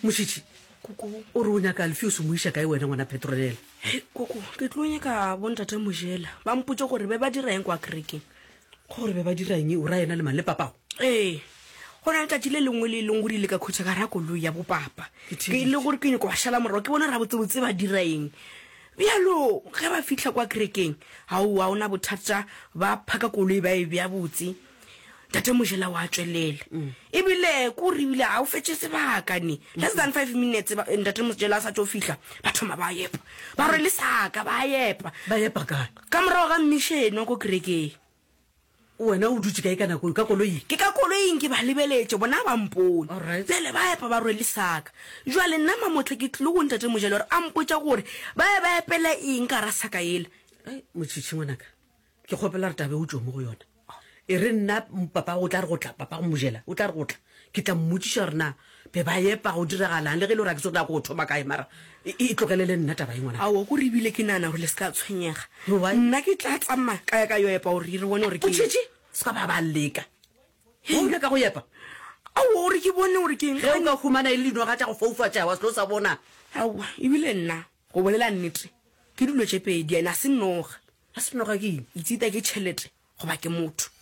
Mošitši, Koko. O re o nyaka Alfios o mo iša kae wena ngwana Petronella? Hei, koko, ke tlo nyaka bontate Mojela ba mpotše gore be ba dira eng kwa kerekeng. Gore be ba dira eng? O ra yena le mang? Le papago? Ee, go na le tšatši le lengwe le leng gore ile ka khutša ka ra koloi ya bopapa. Ke Ke le gore ke nyako ba šala morago ke bone rabotsebotse ba dira eng. Bjalo ge ba fihla kwa kerekeng, aowa, o na bothata, ba phaka koloi ba e bea botse. Tate Mojela wa tšwelela. Ebile ko re ebile ga o fetše sebaka ne. Less than 5 minutes ba, Ntate Mojela a sa tšo fihla, ba thoma ba epa. Ba rwele saka ba epa. Ba epa kae? Ka morago ga mmišene wa ko kerekeng. Wena o dutše kae ka nako eo? Ka koloing? Ke ka koloing ke ba lebeletše, bona ba mpone. Alright. Bjale ba epa ba rwele saka. Jwale nna Mamotle ke tlile go Ntate Mojela gore a mpotša gore ba ye ba epela eng ka gara saka yela. Ai, Motšhitšhi ngwanaka, ke kgopela gore taba e o tšwe mo go yona. E re nna papa o tla re go tla, papa go Mojela o tla re go tla, ke tla mmotšiša gore na be ba epa go diragalang, le ge e le gore a ke tsebe gore na ko thoma kae, mara e, e tlogelele nna taba e ngwanaka. Aowa, kore ebile ke nagana gore le se ka tshwenyega. Why? Nna ke tla tsamaya ka ya ka yo epa gore re bone gore ke. Motšhitšhi, se ka ba ba leka. O nyaka go epa? Aowa, gore ke bone gore ke eng. Ge o ka humana e le dinoga tša go foufatša wa se tlo sa bona. Aowa, ebile nna, go bolela nnete, ke dilo tše pedi, ene a se noga. A se noga ke eng? It's either ke tšhelete goba ke motho.